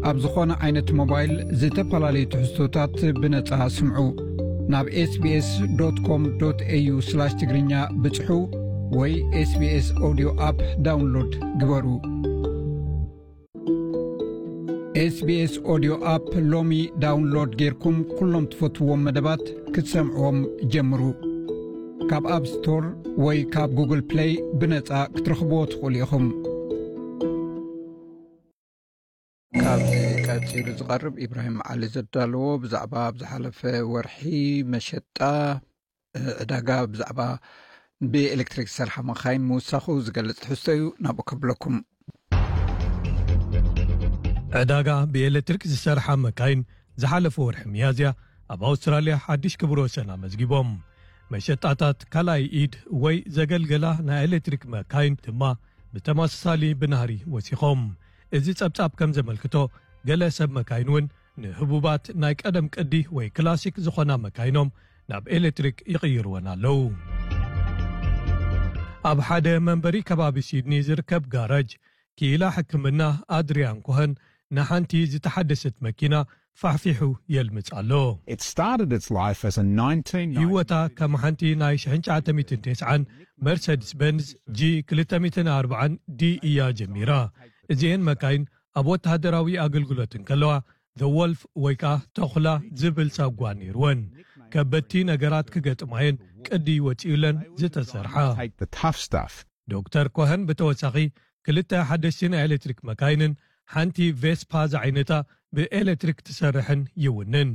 ኣብ ዝኾነ ዓይነት ሞባይል ዝተፈላለዩ ትሕዝቶታት ብነጻ ስምዑ። ናብ ኤስቢኤስ ዶት ኮም ዶት ኤዩ ስላሽ ትግርኛ ብጽሑ ወይ ኤስቢኤስ ኦዲዮ ኣፕ ዳውንሎድ ግበሩ። ኤስቢኤስ ኦዲዮ ኣፕ ሎሚ ዳውንሎድ ጌርኩም ኩሎም ትፈትዎም መደባት ክትሰምዕዎም ጀምሩ። ካብ ኣፕ ስቶር ወይ ካብ ጉግል ፕለይ ብነጻ ክትረኽብዎ ትኽእሉ ኢኹም። ካብ ቀጺሉ ዝቐርብ ኢብራሂም ዓሊ ዘዳለዎ ብዛዕባ ኣብ ዝሓለፈ ወርሒ መሸጣ፣ እ፣ ዕዳጋ ብዛዕባ ብኤሌክትሪክ ዝሰርሓ መኻይን ምውሳኹ ዝገልጽ ትሕዝቶ እዩ። ናብኡ ከብለኩም። ዕዳጋ ብኤሌክትሪክ ዝሰርሓ መካይን ዝሓለፈ ወርሒ ሚያዝያ ኣብ ኣውስትራልያ ሓድሽ ክብረ ወሰን ኣመዝጊቦም። መሸጣታት ካልኣይ ኢድ ወይ ዘገልገላ ናይ ኤሌክትሪክ መካይን ድማ ብተመሳሳሊ ብናህሪ ወሲኾም። እዚ ጸብጻብ ከም ዘመልክቶ፣ ገለ ሰብ መካይን እውን ንህቡባት ናይ ቀደም ቅዲ ወይ ክላሲክ ዝኾና መካይኖም ናብ ኤሌክትሪክ ይቕይርወን ኣለዉ። ኣብ ሓደ መንበሪ ከባቢ ሲድኒ ዝርከብ ጋራጅ፣ ክኢላ ሕክምና ኣድሪያን ኮሀን ንሓንቲ ዝተሓደሰት መኪና ፋሕፊሑ የልምጽ ኣሎ። It started its life as a nineteen ninety ህይወታ ከም ሓንቲ ናይ ሽሕን ትሽዓተ ሚእትን ተስዓን መርሰድስ ቤንዝ ጂ ክልተ ሚእትን ኣርባዓን ዲ እያ ጀሚራ። እዚኤን መካይን ኣብ ወተሃደራዊ ኣገልግሎት እንከለዋ፣ The Wolf ወይ ከኣ ተኹላ ዝብል ሳጓ ነይርወን። ከበድቲ ነገራት ክገጥማየን ቅዲ ወጺኡለን ዝተሰርሓ። Take the tough stuff. ዶክተር ኮሀን ብተወሳኺ ክልተ ሓደስቲ ናይ ኤሌክትሪክ መካይንን ሓንቲ ቬስፓ ዝዓይነታ ብኤሌክትሪክ ትሰርሕን ይውንን።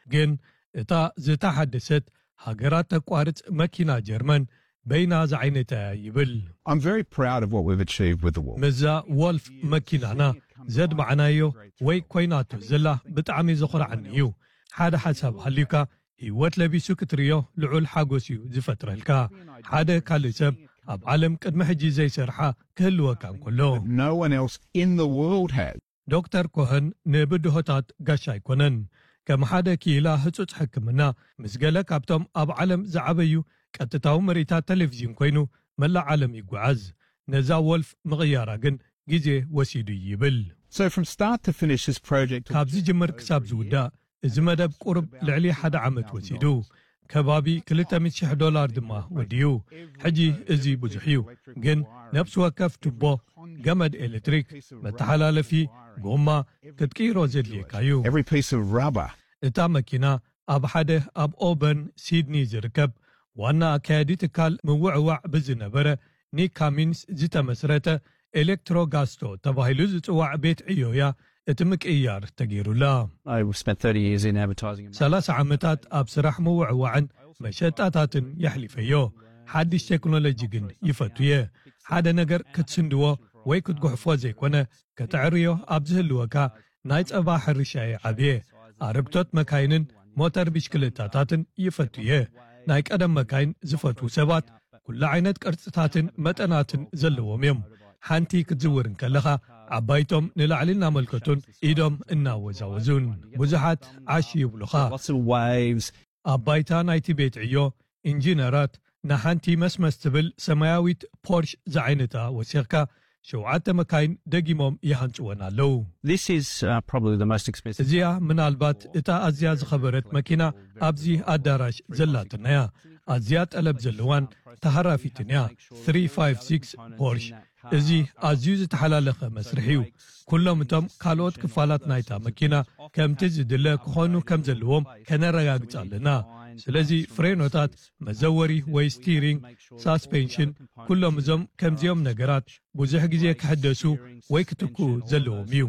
ግን እታ ዝተሓደሰት ሃገራት ተቋርጽ መኪና ጀርመን በይና ዝዓይነታ እያ ይብል። I'm very proud of what we've achieved with the Wolf. ምዛ ወልፍ መኪናና ዘድማዕናዮ ወይ ኮይናቶ ዘላ ብጣዕሚ ዘኹርዓኒ እዩ። ሓደ ሓሳብ ሃልዩካ ህይወት ለቢሱ ክትርእዮ ልዑል ሓጎስ እዩ ዝፈጥረልካ። ሓደ ካልእ ሰብ ኣብ ዓለም ቅድሚ ሕጂ ዘይሰርሓ ክህልወካ እንከሎ። No one else in the world has. ዶክተር ኮሀን ንብድሆታት ጋሻ ኣይኮነን። ከም ሓደ ክኢላ ህጹጽ ሕክምና፣ ምስ ገለ ካብቶም ኣብ ዓለም ዝዓበዩ ቀጥታዊ ምርኢታት ቴሌቪዥን ኮይኑ መላእ ዓለም ይጓዓዝ። ነዛ ወልፍ ምቕያራ ግን ግዜ ወሲዱ ይብል። So from start to finish, this project ካብ ዝጅምር ክሳብ ዝውዳእ፣ እዚ መደብ ቁሩብ ልዕሊ ሓደ ዓመት ወሲዱ። ከባቢ ክልተ ሚእቲ ሽሕ ዶላር ድማ ወዲኡ። ሕጂ እዚ ብዙሕ እዩ፣ ግን ነፍሲ ወከፍ ቱቦ፣ ገመድ ኤሌክትሪክ፣ መተሓላለፊ፣ ጎማ ክትቅይሮ ዘድልየካ እዩ። Every piece of rubber. እታ መኪና ኣብ ሓደ ኣብ ኦበርን ሲድኒ ዝርከብ ዋና ኣካያዲ ትካል ምውዕዋዕ ብዝነበረ ኒክ ካሚንስ ዝተመስረተ ኤሌክትሮጋስቶ ተባሂሉ ዝጽዋዕ ቤት ዕዮ እያ እቲ ምቅይያር ተገይሩላ። I spent thirty years in advertising. ሰላሳ ዓመታት ኣብ ስራሕ ምውዕዋዕን መሸጣታትን የሕሊፈዮ። ሓድሽ ቴክኖሎጂ ግን ይፈቱ እየ። ሓደ ነገር ክትስንድዎ ወይ ክትጉሕፎ ዘይኮነ፣ ከተዕርዮ ኣብ ዝህልወካ ናይ ጸባ ሕርሻ እየ ዓብየ። ኣረግቶት መካይንን ሞተር ብሽክለታታትን ይፈቱ እየ። ናይ ቀደም መካይን ዝፈትዉ ሰባት ኩሉ ዓይነት ቅርጽታትን መጠናትን ዘለዎም እዮም። ሓንቲ ክትዝውር እንከለኻ ዓባይቶም ንላዕሊ እናመልከቱን ኢዶም እናወዛወዙን ብዙሓት ዓሽ ይብሉኻ። Lots of waves. ኣብ ባይታ ናይቲ ቤት ዕዮ ኢንጂነራት ንሓንቲ መስመስ ትብል ሰማያዊት ፖርሽ ዝዓይነታ ወሲኽካ ሸውዓተ መካይን ደጊሞም ይሃንጽወን ኣለዉ። This is uh, probably the most expensive. እዚኣ ምናልባት እታ ኣዝያ ዝኸበረት መኪና ኣብዚ ኣዳራሽ ዘላትና እያ። ኣዝያ ጠለብ ዘለዋን ተሃራፊትን እያ። ትሪ ፋይቭ ሲክስ ፖርሽ። እዚ ኣዝዩ ዝተሓላለኸ መስርሕ እዩ። ኩሎም እቶም ካልኦት ክፋላት ናይታ መኪና ከምቲ ዝድለ ክኾኑ ከም ዘለዎም ከነረጋግጽ ኣለና። ስለዚ ፍሬኖታት፣ መዘወሪ ወይ ስቲሪንግ፣ ሳስፔንሽን፣ ኩሎም እዞም ከምዚኦም ነገራት ብዙሕ ግዜ ክሕደሱ ወይ ክትክኡ ዘለዎም እዩ።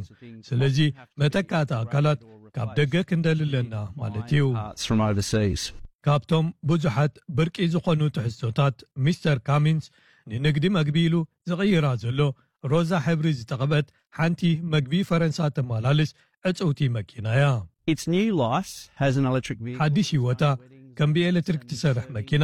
ስለዚ መተካእታ ኣካላት ካብ ደገ ክንደሊ ኣለና ማለት እዩ። Parts from overseas. ካብቶም ብዙሓት ብርቂ ዝኾኑ ትሕዝቶታት፣ ሚስተር ካሚንስ ንንግዲ መግቢ ኢሉ ዝቕይራ ዘሎ ሮዛ ሕብሪ ዝተቐብአት ሓንቲ መግቢ ፈረንሳ ተመላልስ ዕጽውቲ መኪና እያ። Its new life has an electric vehicle. ሓድሽ ህይወታ ከም ብኤሌክትሪክ ትሰርሕ መኪና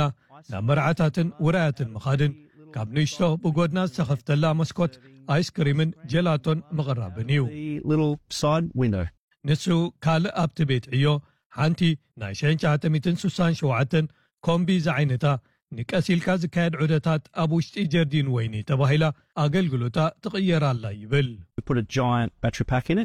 ናብ መርዓታትን ውራያትን ምኻድን፣ ካብ ንእሽቶ ብጎድና ዝተኸፍተላ መስኮት ኣይስክሪምን ጀላቶን ምቕራብን እዩ። The little side window. ንሱ ካልእ ኣብቲ ቤት ዕዮ ሓንቲ ናይ ሽሕን ትሽዓተ ሚእትን ስሳን ሸውዓተን ኮምቢ ዝዓይነታ ንቀስ ኢልካ ዝካየድ ዑደታት ኣብ ውሽጢ ጀርዲን ወይኒ ተባሂላ ኣገልግሎታ ትቕየር ኣላ ይብል። We put a giant battery pack in it.